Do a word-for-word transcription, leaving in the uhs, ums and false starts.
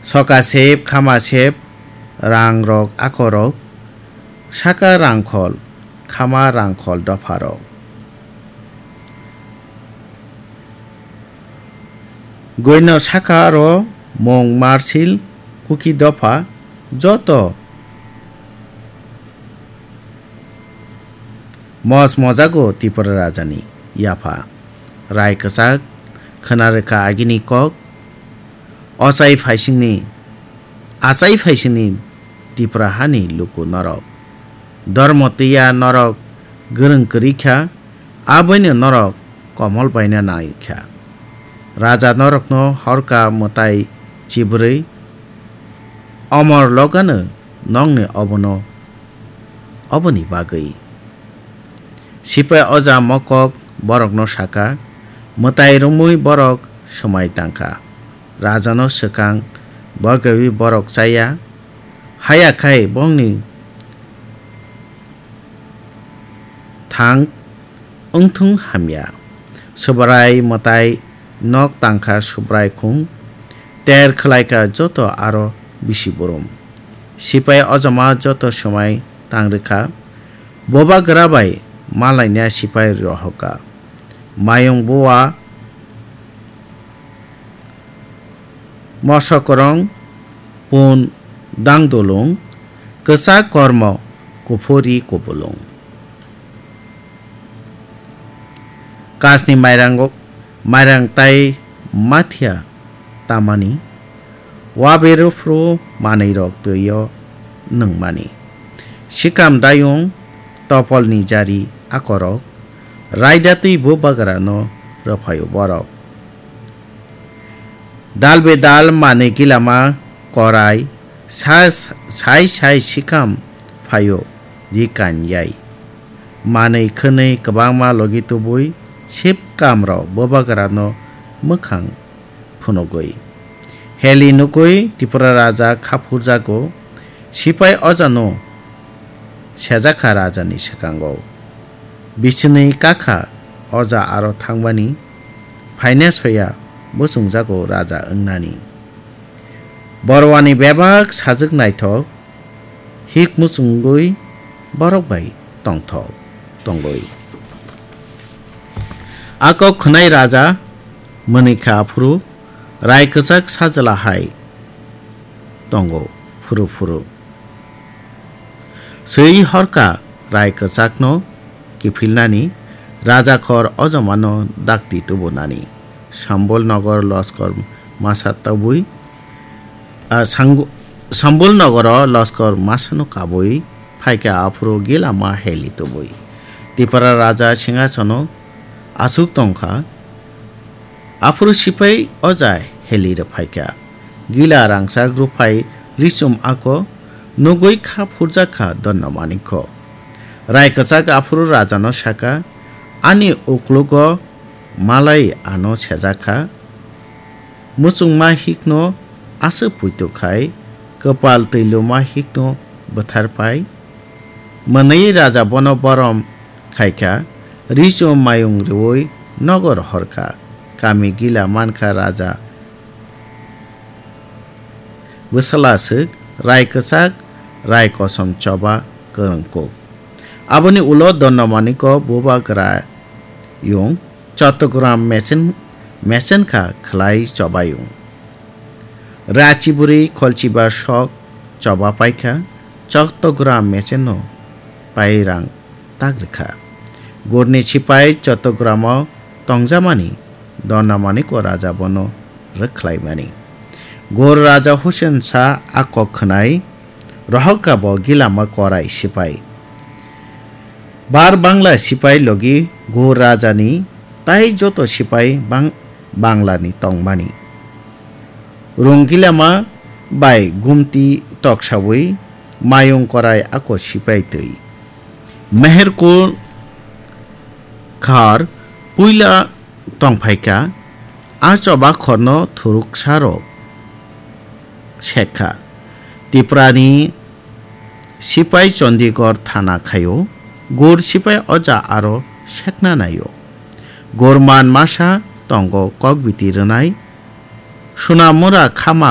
Soka sep, khama sep, rang rok, ako rok, saka rangkhol, khama rangkhol dopha rok. Goino saka aro mung marsil kuki dopha joto mos mojago Tripura rajani yapha. Rai kwchak khwna rwkha agini kok, ochai phaisingni, achai phaisingni Tripura hani luku norok. Dormo twiya norok gwrwng kwrwi kha, aboino norok komol baina nai kha. Raja norokno horka mwtai chibrwi, omor logano nokni obono oboni bagwi. Sipai oja mokok borokno saka, mwtai romwi borok swmai tangkha. Rajano swkang bwgaiwi borok chaya, haya khai bongni thang wngthung hamya. Subrai mwtai nok tangkha Subrai khung, ter khwlaikha joto aro bisi burum. Sipai ojama joto swmai tangrwkha, bobagra bai malaina sipai rohorkha. Mayung bua mosokrong pun dangdulung, kwchak kormo kuphuri kubulung. Kasni mairang, mairang tai mathia tamani, waberu phru manwi rok twi o nwngmani. Sikam dayung topolni jari akorok, raida twi bubagra no rwphaio borok. Dal be dal manwi gilama korai sa-, sai sai sikam phaio ri kanyai. Manwi khwnwi kwbangma logi tubui sip kamrok bubagrano mwkhang phunugwi. Heli nugwi Tripura raja kha phurjago, sipai ojano sejakha rajani swkango. Bisinwi kakha oja aro thangbani phaina soya muchungjago raja wngnani. Borwani bebak sajwk naithok, hik muchungwi borok bai tongthok tongwi. Ako khwnai raja mwnwi kha aphuru rai kwchak sajla hai tongo phuru phuru. Swi horka rai kwchakno kiphilnani raja khor ojomano dakti tubunani. Sambol nogor loskor masa tubui, ah, Sangu-, Sambol nogoro loskor masano kabui phaikha aphuru gilama heli tubui. Tipra raja singhasono aswk tongkha. Aphuru sipai oja heli rwphaikha. Gila rangchak rwphai risum ako nugwi kha phurjakha Donno Manikko. Rai kwchak aphuru rajano sakha, "Ani uklugo malai ano sejakha. Muchungma hikno aswk puitu khai, kwpal twiluma hikno bwtharpai." Mwnwi raja bono borom khaikha, richum mayung rwui nogor horkha. Kami gila mankha raja bwsala swk, rai kwchak, rai kosom choba kwrwngkuk. Aboni ulo Donno Manikko bubagra yung Chottogram mesen, mesen kha khlai chobayung. Rachi bwrwi kholchiba sok choba paikha, Chottogram mesenno pairang tak rwkha. Gurni sipai Chottogramo tongjamani Donno Manikko raja bono rwkhlaimani. Gur raja Hussein Shah a kok khwnai rohorkha bo gilama korai sipai. Bar Bangla sipai logi Gur rajani tai joto sipai bang-, Banglani tongmani. Rung gilama bai gumti toksawi mayung korai ako sipai twi. Meherkul khar puila tongphaikha, a choba khorno thuruksarok sekha. Tiprani sipai Chandigarh thana khaio, Gur sipai oja aro sekna naio. Gur man masa tongo kokbiti rwnai, Sunamura khama